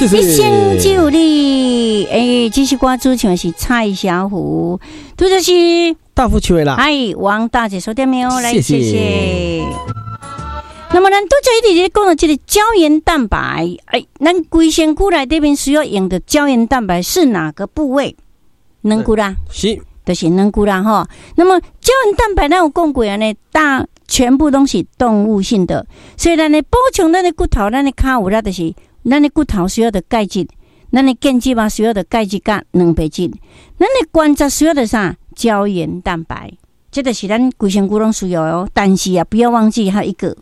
謝謝。一生只有你，欸，這首歌主唱是蔡小虎，拄則是大富唱的啦。哎，王大姐說點沒有？來，謝謝。謝謝。那麼咱拄才一直咧講到這個膠原蛋白，哎，咱規身軀內底面需要用的膠原蛋白是哪個部位？軟骨啦，是，就是軟骨啦吼。那麼膠原蛋白咱有講過按呢，大全部攏是動物性的，所以咱的補充咱的骨頭，咱的跤有力，就是咱的骨頭需要的鈣質，咱的腱子嘛需要的鈣質佮蛋白質，咱的關節需要的啥？膠原蛋白，這就是咱規身軀攏需要哦。但是啊，不要忘記還有一個。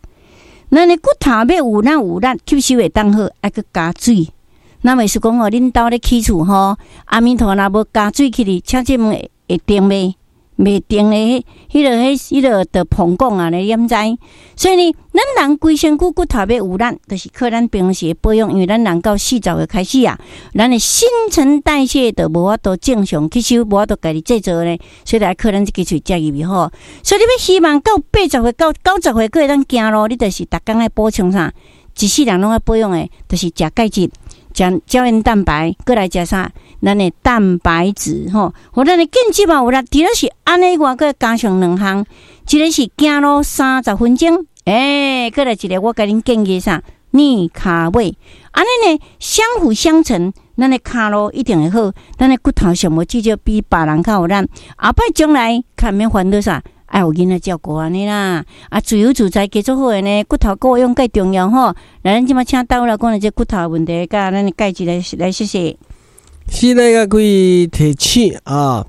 咱的骨頭欲有咱有力吸收會當好，愛閣加水。那袂是講哦，恁兜咧起厝吼，阿彌陀若無加水起去，請問會定袂？袂定的，彼個就膨講啊，你毋知？所以呢，咱人規身軀骨頭欲有力，就是靠咱平時的保養，因為咱人到40歲開始啊，咱的新陳代謝就無法度正常吸收，無法度家己製造呢，所以來靠咱這支喙食入去吼。所以你欲希望到80歲到90歲閣會當行路，你就是逐工愛補充啥？一世人攏愛保養的，就是食鈣質、食膠原蛋白，閣來食啥？咱的蛋白質吼，予咱的腱子嘛有力。除了是按呢外，閣加上兩項，一個是行路30分鐘，欸，閣來一個我共恁建議啥？尼卡尾，按呢呢相輔相成，咱的跤路一定會好，咱的骨頭上無至少比別人較有力。後擺將來較免煩惱啥？愛有囡仔照顧按呢啦，啊，自由自在加做好的呢，骨頭顧養較重要吼。來，咱這擺請大夫來講下這骨頭問題，佮咱的鈣質來來謝謝。是來共各位提醒啊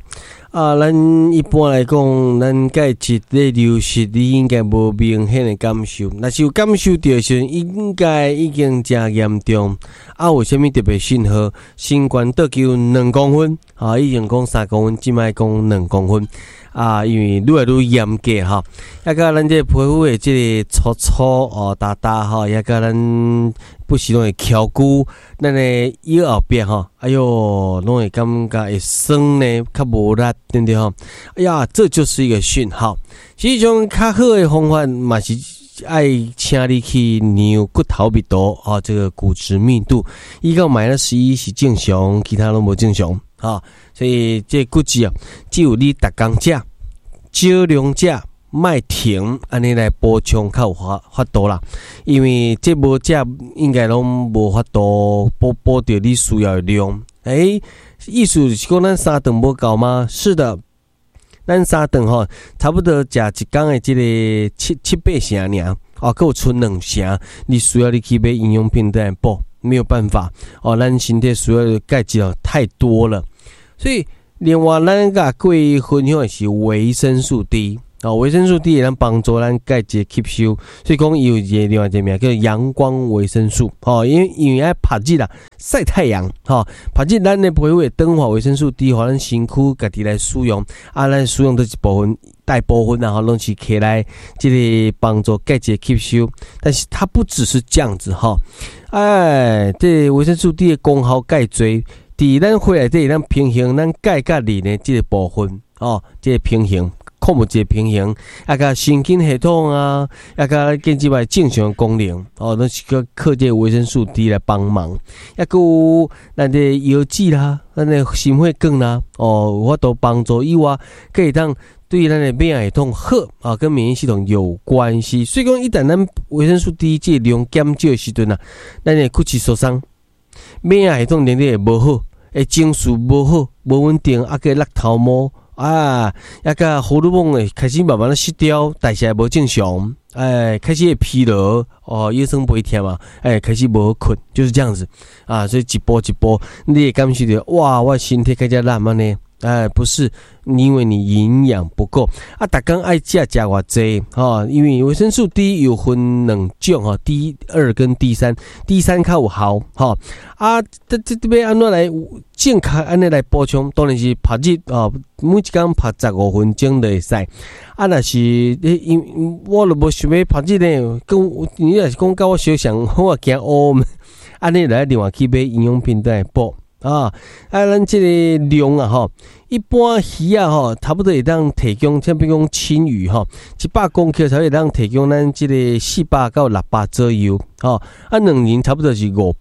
啊！咱一般來講，咱鈣質咧流失，你應該無明顯的感受。若是有感受著的時陣，應該已經誠嚴重。啊，有啥物特別信號？身懸倒求2公分，啊，以前講3公分，這擺講兩公分。啊，因為愈來愈嚴格吼，抑佮咱這個皮膚的這個粗粗哦、焦焦吼，抑佮咱不時攏會蹺龜，咱的腰後壁吼，哎喲，攏會感覺會酸呢，較無力，對毋對吼？哎呀，這就是一個訊號。其實種較好的方法嘛是愛請你去量骨頭密度哦，這個骨質密度，1到-1是正常，其他攏無正常。吼，所以這骨質啊，只有你逐工食，少量食，莫停，按呢來補充較有法度啦。因為這無食，應該攏無法度補補著你需要的量。欸，意思是講咱三頓無夠嗎？是的，咱三頓吼，差不多食一工的這個七八成爾，哦，閣有賰兩成，你需要你去買營養品來補，沒有辦法哦，咱身體需要的鈣質哦太多了。所以，另外咱共各位分享的是維生素 D 哦，維生素 D 會當幫助咱鈣質吸收，所以講伊有一個另外一個名叫陽光維生素，吼，因為愛曬日啦，曬太陽，吼，曬日咱的皮膚會轉化維生素 D，予咱身軀家己來使用，啊，咱使用的一部分，大部分啊，吼，攏是起來這個幫助鈣質吸收，但是它不只是這樣子，吼，哎，這個維生素 D 的功效蓋濟。佇咱血內底，咱平衡咱鈣佮磷的這個部分，哦，這個平衡，礦物質平衡，啊，佮神經系統啊，啊，佮腱子的正常功能，哦，攏是閣靠這個維生素 D 來幫忙。抑閣有咱的腰子啦，咱的心血管啦，哦，有法度幫助以外，閣會當對咱的免疫系統好啊，跟免疫系統有關係。所以講，一旦咱維生素 D 這個量減少的時陣啊，咱的骨質疏鬆，免疫系統能力會無好。會情緒無好、無穩定，啊，閣落頭毛啊，抑佮荷爾蒙會開始慢慢仔失調，代謝無正常，哎，開始會疲勞，哦，腰酸背痛嘛，哎，開始無好睏，就是這樣子啊，所以一步一步，你會感受著，哇，我身體較才懶按呢，哎，不是因為你營養不夠啊，逐工愛食食偌濟吼，因為維生素 D 有分兩種吼，D 2跟 D 3，D 3較有效吼。啊，這欲按怎來正確按呢來補充？當然是曬日哦，每一工曬15分鐘就會使。啊，若是你因我都無想欲曬日呢，講你若是講佮我相像，我也驚烏，按呢來另外去買營養品來補。啊。啊，咱這个量啊吼，一般魚仔吼，差不多會當提供，像比如講鯖魚吼，100公克才會當提供咱這个400到600左右，吼。啊，卵仁差不多是500。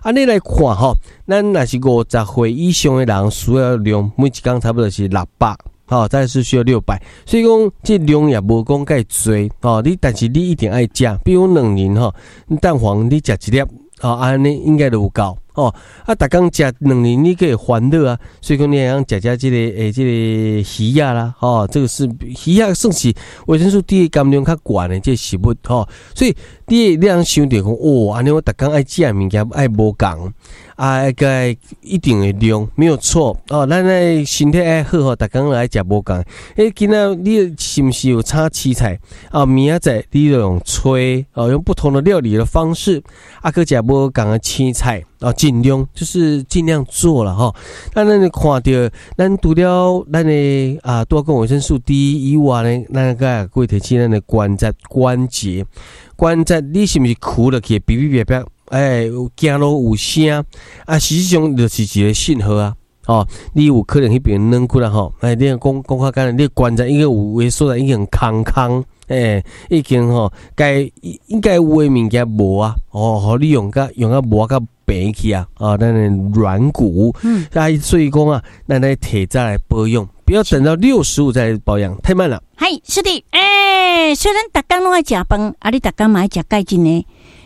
啊，你來看吼，咱若是50歲以上的人，需要量每一工差不多是六百。吼，再是需要六百，所以講這量也無講蓋濟，吼，你但是你一定愛食，比如卵仁吼，蛋黃你食一粒，吼，按呢應該就有夠，吼，啊，逐工食卵仁你閣會煩惱啊，所以講你會當食食這个欸，這个魚仔啦，吼，這个是魚仔算是維生素 D 含量較懸的這个食物，吼，所以你通想著講，哦，按呢我逐工愛食的物件愛無仝。啊，閣愛一定的量沒有錯哦。咱的身體愛好吼，逐工來食無仝。欸，今仔你是毋是有炒青菜？啊，明仔載你就用炊哦，用不同的料理的方式，啊，閣食無仝的青菜哦，盡量就是盡量做啦吼。咱咱看著，咱除了咱的啊，拄仔講維生素 D 以外呢，咱閣會提醒咱的關節關節關節，你是毋是跍落去嗶嗶啪啪？欸，行路有聲啊，實際上就是一个信號啊。哦，你有可能彼邊軟骨啦吼，欸，你講講較簡單，你關節已經有的所在已經空空，欸，已經吼該應該有的物件無啊，哦，予你用甲用甲無甲平去啊，啊，咱的軟骨，啊，所以講啊，咱來提早來保養，不要等到65再保養，太慢了。係，是的，欸，雖然逐工攏愛食飯，啊，你逐工嘛愛食鈣質呢。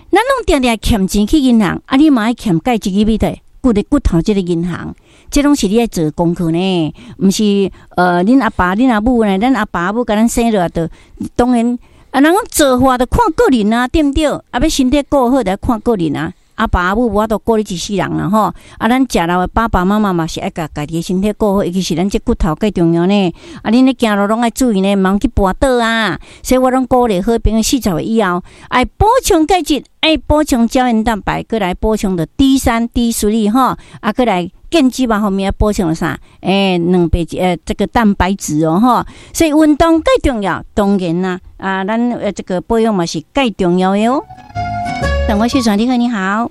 咱攏定定欠錢去銀行，啊，你嘛愛欠鈣質去佗？骨的骨頭這个銀行，這攏是你愛做功課呢，毋是恁阿爸恁阿母呢？咱阿爸阿母共咱生落來就當然啊，人講造化就看個人啊，對毋對？啊，欲身體顧好，就愛看個人啊。阿爸阿母無法度顧你一世人啦吼，啊，咱食老的爸爸媽媽嘛是愛共家己的身體顧好，尤其是咱這骨頭較重要呢。啊，恁咧行路攏愛注意呢，毋通去跋倒啊。所以我攏鼓勵好朋友40歲以後，愛補充鈣質，愛補充膠原蛋白，閣來補充著 D3、D3吼，啊，閣來健脂肪方面補充啥？欸，兩白這個蛋白質哦吼。所以運動蓋重要，當然啦，啊，咱這個保養嘛是蓋重要的哦。等我秀轉，你好，你好，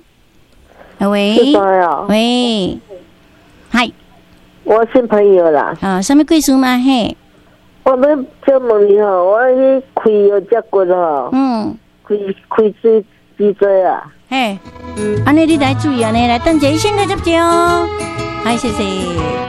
喂，喂，嗨，我新朋友啦，啊，啥物貴數嘛？嘿，我欲請問你吼，我去開腰脊骨吼，開開水脊椎啊，嘿，按呢你來注意按呢，來等一下醫生來接招，嗨，謝謝。